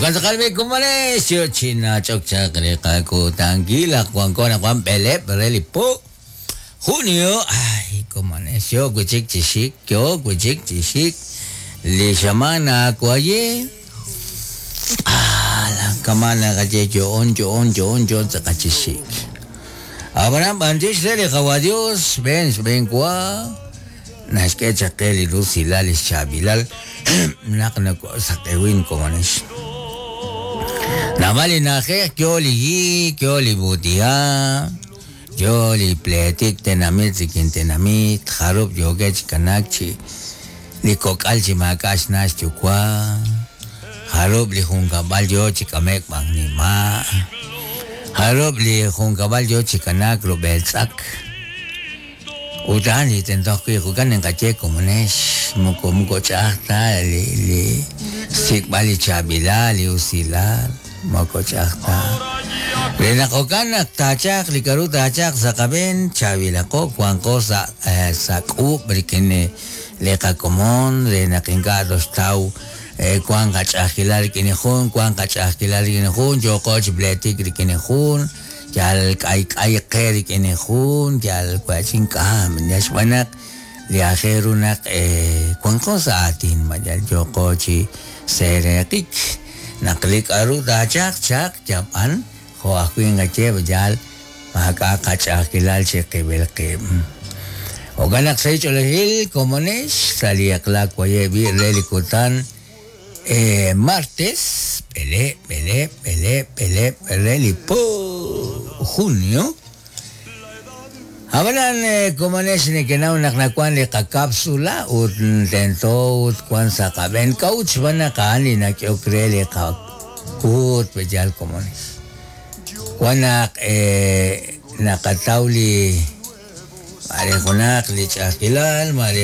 Jo'kan tz'aqal b'i' komonex, yo chi nach'ok chaq li qakutankil naq wanko anaqwan b'eleb' re li po junio. Ay, komonex, yo wi' chik chi xik, yo wi' chik chi xik li xamaan naawaye. Ah, kama' naqaye yo'on, yo'on, yo'on, yo'on tz'aqal chi xik. Ab'anan b'antiox re li Qawa' Dios, xb'een xb'een wa naxk'e chaq qe li rusilal li xchaab'ilal naq nakosaq'ewin komonex. Naab'al li na'ajej yo li hiik, yo li b'uut'iha', yo li pleetik tenamit rik'in tenamit, jarub' yookeb' chi kanaak chi li kok'al chi maak'a' xna' xyuwa', jarub' li junkab'al yo chi k'ame'k b'an nima', jarub' li junkab'al yo chi kanaak rub'el tz'ak. Ut a'an li tento ajwi' jo'kan ninqaye komonex, moko moko ch'a'aj ta li li xsik'b'al li chaab'ilal, li usilal, moko ch'a'aj ta. Re naq jo'kan naq taachalq li k'a'ru taachalq sa' qab'een, chaab'ilaqo, wanqo sa' sa' k'uub' rik'in li qakomon re naq ink'a' toxtaw wank qach'a'ajkilal rik'in li jun, wank qach'a'ajkilal rik'in li jun, yooqo chi pleetik rik'in li jun, Yal k'ayk'ay qe rik'in li jun, yal wa'chin k'am, yal xb'aan naq li aajel ru naq wanqo sa' aatin, ma yal yooqo chi seeraqik. Naq li k'a'ru taachalq chaq yab'an, jo' ajwi' nqaye yal maak'a' qach'a'ajkilal chiqib'il qib'. Jo'kan naq sahil ch'oolejil komonex sa' li eq'la waye' b'i' re li kutan. Martes, b'eleeb', b'eleeb', b'eleeb', b'eleeb' re li po junio. Ab'anan komonex nekenaw naq nawank li qakapsula ut tento ut wank sa' qab'een k'a'ut xb'aan naq a'an li nak'ehok re li qakuut pe'yaal komonex. Wank naq naqataw li maare junaq li ch'a'ajkilal maare.